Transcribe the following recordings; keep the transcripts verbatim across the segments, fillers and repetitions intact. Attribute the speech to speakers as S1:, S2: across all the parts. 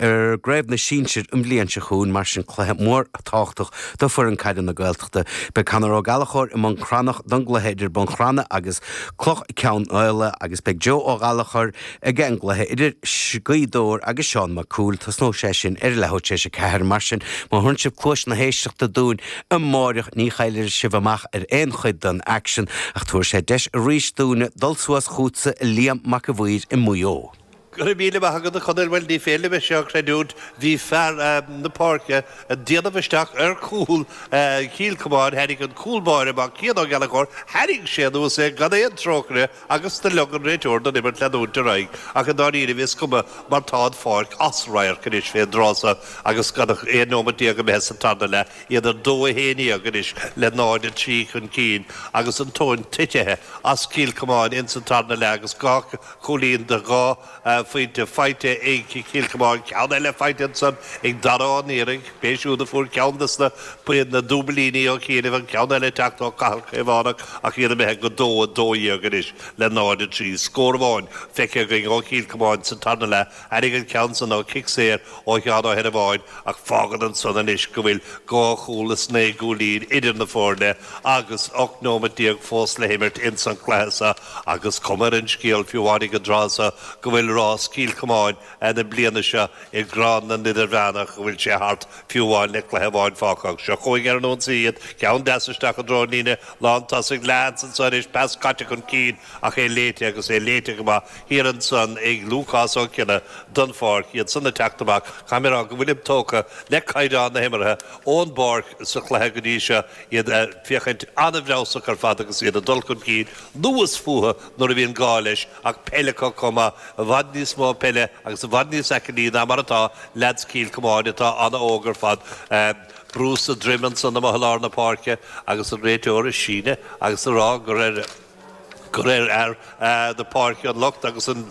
S1: ar gCraobh na Sinsear an bhliain seo chugainn mar sin cluiche mór tábhachtach do foireann caide na Gaeltachta. Beidh Conor Ó Gallchóir i mBun Cranncha don gcluiche idir Bun Cranncha agus Cloich Cheann Fhaola agus beidh Joe Ó Gallchóir ag an gcluiche idir Gaoth Dobhair agus Seán Mac Cumhaill tosnóidh sé sin ar leathuair tar éis a ceathair mar sin má thugann sibh cluas na héisteachta dúinn amárach ní chaillfidh sibh amach ar aon chuid den aicsean ach tabharfaidh sé deis arís dúinn dul suas chugatsa Liam Mac a' Mhaoir i Maigh Eo.
S2: Go raibh míle maith agat a Chonaill bhuel ní féidir liom seo a chreidiúint bhí fear na páirce ag déanamh isteach ar chúl Chill Chomáin tháinig an cúl báire amach Cian Ó Gallchóir tharraing sé anuas é gan aon trócaire agus do lig an réiteoir don imirt leanúint ar aghaidh ach i ndáiríre is cuma mar tá an pháirc as radharc anois fén dtráth seo agus gan ach aon nóiméad déag imithe sa tarna leath iad ar dó a haon déag anois le náid a trí chun cinn agus an tóin tite as Cill Chomáin in sa tarna leath agus dhá chúilín de dhá phointe faighte ag Cill Chomáin ceann eile faighte ansan ag Dara Ó Niaraigh, b'é siúd a fuair ceann des na na dúbailíní ó chianaibh an ceann eile teacht ó Cathal Caomhánach ach iad imithe go dó a dó dhéag anois le náid a trí. Scór amháin feicthe againn ó Chill Chomáin sa tarna leath tháinig an ceann san ó chic saor ó Sheán Ó hEireamháin ach fágann ansan anois go bhfuil dhá chúl is naoi gcúilín idir na foirne agus ocht nóiméad déag fós le himirt ins an chluiche seo agus cuma ar an scéal fiú amháin ag an dtráth seo go bhfuil rás Chill Chomáin na bliana seo i gCraobh na nIdirmheánach go bhfuil sé thart fiú amháin le cluiche amháin fágtha seo chugainn ar an ionsaí iad ceann deas isteach i dtreo líne lántosaigh leans ansan anois pas caite chun cinn ach é léite agus é léite go maith thiar ansan ag Lúcás Ó Cionnaith don pháirc iad san ag teacht amach caithfidh mé go bhfuilim tógtha le caighdeán na himeartha ón bpáirc sa chluiche go dtí seo iad féachaint an-fheabhsach ar fad agus iad ag dul chun cinn luas fúthu nuair a bhíonn gá leis ach peile chomh maith i bhfad níos mó peile agus i bhfad níos aclaí ná mar atá leaids Chill Chomáin atá an-óg ar fad. Brú sa droim ansan amuigh i lár na páirce agus an réiteoir ag síneadh agus ag rá gur ar gur ar fhear na páirce an locht agus an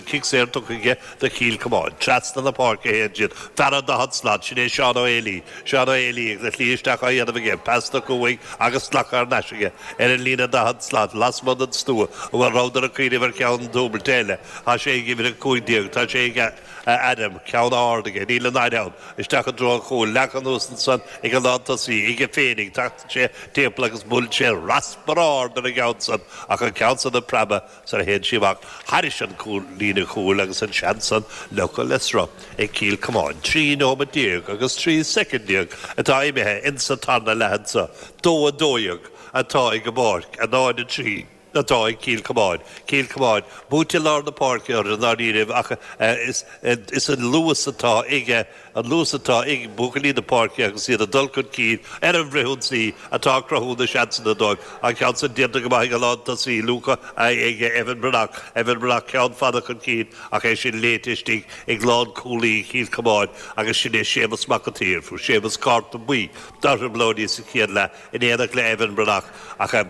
S2: cic saor tugtha aige do Chill Chomáin. Trasna na páirce a théann siad. Fear an daichead slat, sin é Seán Ó Héalaí. Seán Ó Héalaí agus a shlí isteach á dhéanamh aige, pas tugtha uaidh agus glactha thar n-ais aige ar an líne daichead slat, lasmuigh den stua, a bhfuil rabhadar ag cuimhneamh ar cheann dúbailte eile. Tá sé ag uimhir a cúig déag, tá sé ag Adam, ceann ard aige, níl an fhoireann ann, isteach i dtreo an chúil, leagtha anuas ansan ag an lántosaí, aige féinig, tagann sé timpeall agus buaileann sé raspar ard ar an gceann san ach an ceann san ag preabadh sar a théann sí amach thairis an cúl líne chúil agus an seans san leagtha le sruth ag Cill Chomáin. Trí nóiméad déag agus trí soicind déag atá imithe insa tarna leath anso. Dó a dó dhéag atá ag an bPáirc, a náid a trí atá ag Cill Chomáin. Cill Chomáin, buaite lár na páirce orthu i ndáiríribh ach is is an luas atá aige an luas atá ag buachaillí na páirce agus iad ag dul chun cinn ar an bhfrithionsaí atá ag cruthú na seansanna dóibh. An ceann san déanta go maith ag an lántosaí Luca ag Evan Breathnach. Evan Breathnach ceann fada chun cinn ach é sin léite istigh ag lánchúlaí Chill Chomáin agus sin é Séamus Mac an tSaoir. Fuair Séamus cárta buí dá thrioblóidí sa chéad leath in éineacht le Evan Breathnach ach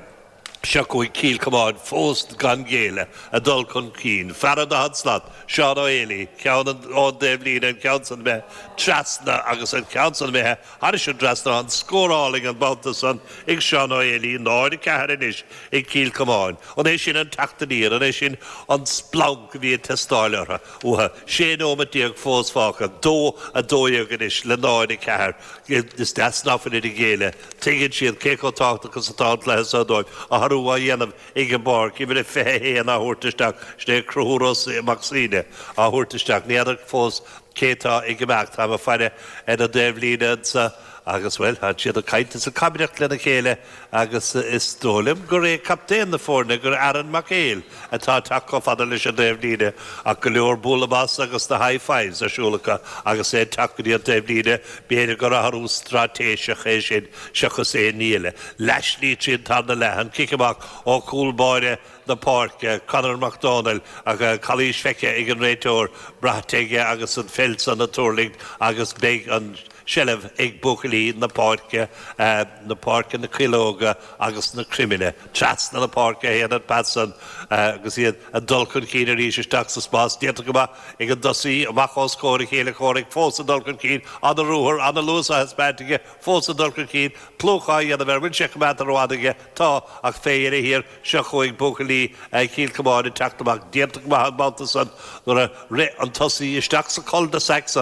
S2: seo chugainn Cill Chomáin fós gan géilleadh ag dul chun cinn. Fear an daichead slat, Seán Ó Héalaí, ceann ón dtaobhlíne, an ceann san imithe trasna agus an ceann san imithe thairis an dtrasnán, scór álainn an babhta san ag Seán Ó Héalaí, náid a ceathair anois ag Cill Chomáin. An é sin an teacht aniar, an é sin an splanc a bhí ag teastáil orthu, uathu? Sé nóiméad déag fós fágtha, dó a dó dhéag anois le náid a ceathair. Is deas ná fuilid ag géilleadh. Tuigeann siad cé chomh tábhachtach is atá an cluiche seo dóibh. Athrú á dhéanamh ag an bPáirc, uimhir a fiche a haon á thabhairt isteach, sin é Conchúr Ó Mac Suibhne á thabhairt isteach. Ní fheadar fós cé atá ag imeacht. Táim ag faire ar an dtaobhlíne anso agus, bhuel, tá siad ag caint is ag cabaireacht lena chéile agus is dóigh liom gur é captaen na foirne, gur Aaron Mac Éil atá ag teacht chomh fada leis an dtaobhlíne ach go leor bualadh bos agus na high fives ar siúl acu agus é ag teacht go dtí an taobhlíne, b'fhéidir gur athrú straitéiseach é sin seachas aon ní eile. Leathshlí tríd an tarna leath, an cic amach ó chúl báire na páirce, Conor Mac Dónaill, ach calaois feicthe ag an réiteoir, braite aige agus an pheil san ag tuirlingt agus beidh an seilbh ag buachaillí na páirce, na páirce, na Cuileoga agus na Creimile. Trasna na páirce a théann an pas san agus iad ag dul chun cinn arís isteach sa spás. Déanta go maith ag an dtosaí, amach os comhair a chéile comhraic, fós ag dul chun cinn, an-ruathar, an-luas á thaispeáint aige, fós ag dul chun cinn, plúch á dhéanamh air, bhfuil sé coimeádta rófhada aige? Tá, ach fé dheireadh thiar, seo chugainn buachaillí Chill Chomáin ag teacht amach. Déanta go maith an babhta san nuair a rith an tosaí isteach sa cul de sac san.